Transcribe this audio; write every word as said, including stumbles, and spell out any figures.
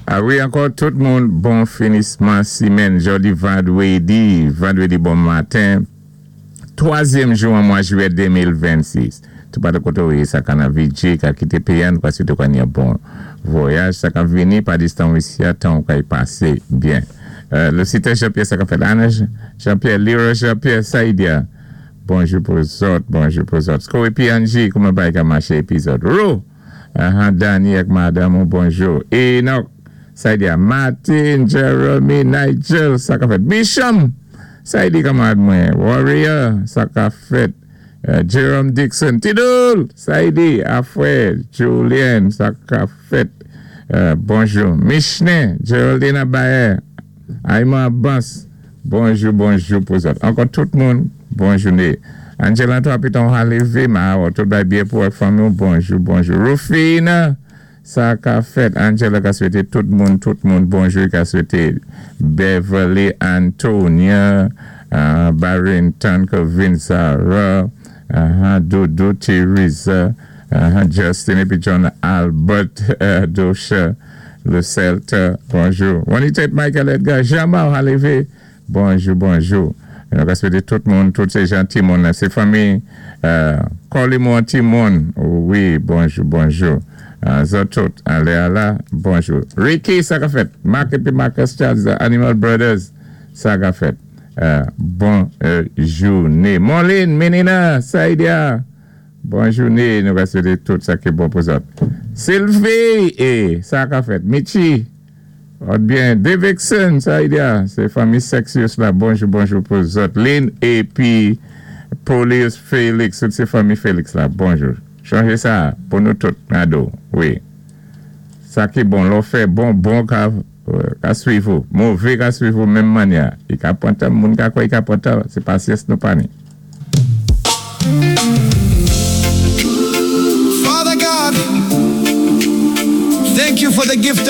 A wi, ankò tout moun, bon finisman simenn, jòdi vandwédi, vandwédi bon maten, twazyèm jou an mwa jwiyè de mil vennsis. Tout patou koté ou yé, sa ka nan V J, ka kité péyi an, kwa swété kwa ni yon bon vwayaj, sa ka vini pa distan isi, tan ou ka y pasé byen. Euh, le site Jean-Pierre, sa ka fèt Anna Jean-Pierre, Leroy Jean-Pierre, Saïdia, bonjou pou zòt, bonjou pou zòt. Sko épi Angie, kouman bagay ka maché épi zòt? Ro, uh, Danny ak madanm, bonjou. Enoch, Saïdia, Martin, Jeremy, Nigel, sa ka fèt. Bisham, Saïdi kanmarad mwen, Warrior, sa ka fèt. Uh, Jerome Dixon, Tidoul, Saïdi, Afwe, Julien, sa ka fèt. Uh, bonjou. Michne, Geraldine Abaye, Aïma Abbas, bonjou, bonjou pou zòt. Ankò tout moun, bon jouné. Angela, toi, piton levé, ma, tout bagay byen pou fanmi, bonjou, bonjou. Rufina, sa ka fèt. Angela ka swété tout moun, tout moun, bonjou, ka swété Beverly, Antonia, uh, Barrington, Kevin, Sarah, uh, Dodo, Teresa, uh, Justin, épi John Albert, uh, Dosha, le Celta, bonjou. Juanita Michael Edgar, Jamal Halivé, bonjou, bonjou. Nou ka swété tout moun, tout sé jan ti moun, sé fanmi, euh, Colimon Timon, wi, bonjou, bonjou. Euh, zòt tout, alé ala, bonjou. Ricky, sa ka fèt. Mark épi Marcus Charles, the Animal Brothers, sa ka fèt. Euh, bon euh, jouné. Moline, Menina, Saïdia, bon jouné, nou ka swété tout sa ki bon pou zòt. Sylvie, eh, sa ka fèt. Michi, byen, Davidson, Saïdia, sé fanmi Sexius la, bonjou, bonjou pou zòt. Lynn épi Polius Félix, tout sé fanmi Félix la, bonjou. Chanjé sa pou nou tout, Nado, wi. Sa ki bon, lò fè bon, bon ka, ka swiv ou. Mové ka swiv ou menm mannyè. I ka pwan tan, moun ka kwè i ka pwan tan, sé pasyans nou pa ni. Father God, thank you for the gift